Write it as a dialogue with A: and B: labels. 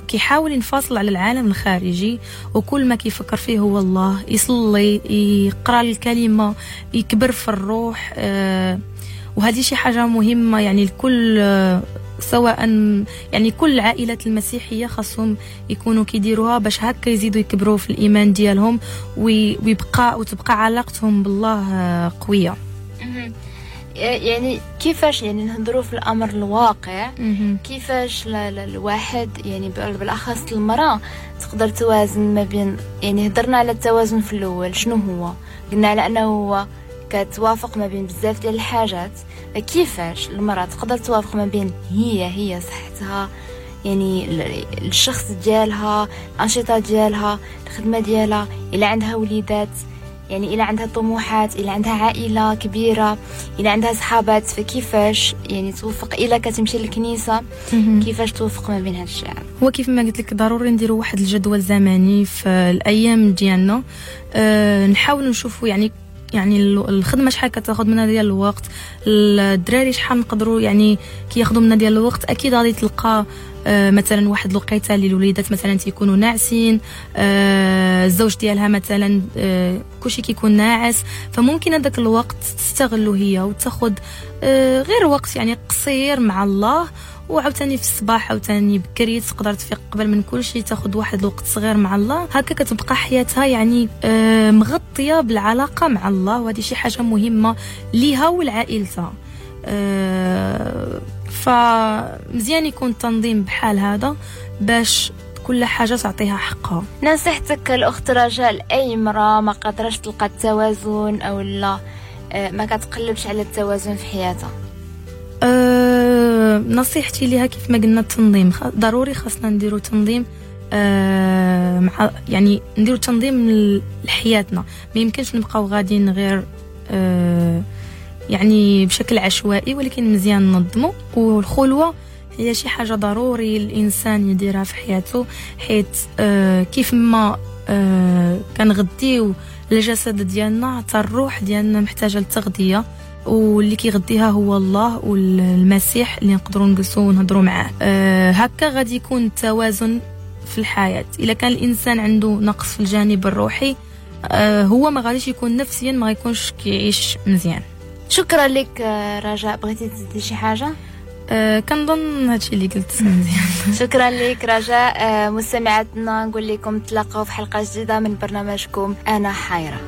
A: كيحاول ينفصل على العالم الخارجي، وكل ما كيفكر فيه هو الله، يصلي، يقرا الكلمة، يكبر في الروح. وهذه شي حاجة مهمة يعني الكل، سواء يعني كل العائلات المسيحية خاصهم يكونوا كيديروها باش هكا يزيدوا يكبروا في الايمان ديالهم ويبقى وتبقى علاقتهم بالله قوية.
B: يعني كيفاش يعني نهضروا في الامر الواقع، كيفاش الواحد يعني بالاخص المراة تقدر توازن ما بين، يعني هضرنا على التوازن في الاول، شنو هو؟ قلنا على انه هو كتوافق ما بين بزاف ديال الحاجات. كيفاش المراة تقدر توافق ما بين هي صحتها، يعني الشخص ديالها، الانشطة ديالها، الخدمة ديالها، الا عندها وليدات، يعني إلا عندها طموحات، إلا عندها عائلة كبيرة، إلا عندها صحابات، فكيفاش يعني توفق؟ إلا كتمشي للكنيسة كيفاش توفق ما بين هاد الشيء؟
A: هو كيف ما قلت لك ضروري نديروا واحد الجدول زمني في الأيام ديالنا. نحاولوا نشوفوا يعني الخدمة شحال كتاخذ منا ديال الوقت، الدراري شحال نقدروا يعني كياخذوا منا ديال الوقت. اكيد غادي تلقى مثلا واحد الوقيته اللي الوليدات مثلا تيكونوا ناعسين، الزوج ديالها مثلا كلشي كيكون ناعس، فممكن هذاك الوقت تستغلو هي وتاخذ غير وقت يعني قصير مع الله. وعاوتاني في الصباح عاوتاني بكري تقدر تفيق قبل من كل شيء، تاخذ واحد الوقت صغير مع الله. هكا كتبقى حياتها يعني مغطيه بالعلاقة مع الله، وهذه شي حاجة مهمة ليها ولعائلتها. فمزيان يكون التنظيم بحال هذا باش كل حاجة تعطيها حقها.
B: نصيحتك الاخت رجاء لاي امراة ما قادراش تلقى التوازن او لا ما كتقلبش على التوازن في حياتها؟
A: نصيحتي لها كيف ما قلنا التنظيم، ضروري خاصنا نديرو تنظيم، مع يعني نديرو تنظيم لحياتنا. ما يمكنش نبقاو غاديين غير يعني بشكل عشوائي، ولكن مزيان ننظمو. والخلوه هي شي حاجة ضروري الانسان يديرها في حياته، حيت كيف ما كنغديو الجسد ديالنا حتى الروح ديالنا محتاجه للتغذيه، واللي كيغديها هو الله والمسيح اللي نقدروا نجلسوا ونهضروا معاه. هكا غادي يكون التوازن في الحياة. الا كان الانسان عنده نقص في الجانب الروحي، هو ما غاديش يكون نفسيا، ما غيكونش كيعيش مزيان.
B: شكرا لك رجاء. بغيتي تزيدي شي حاجة؟
A: كنظن هادشي اللي قلت مزيان.
B: شكرا لك رجاء. مستمعاتنا نقول لكم تلاقاو في حلقة جديدة من برنامجكم انا حيره.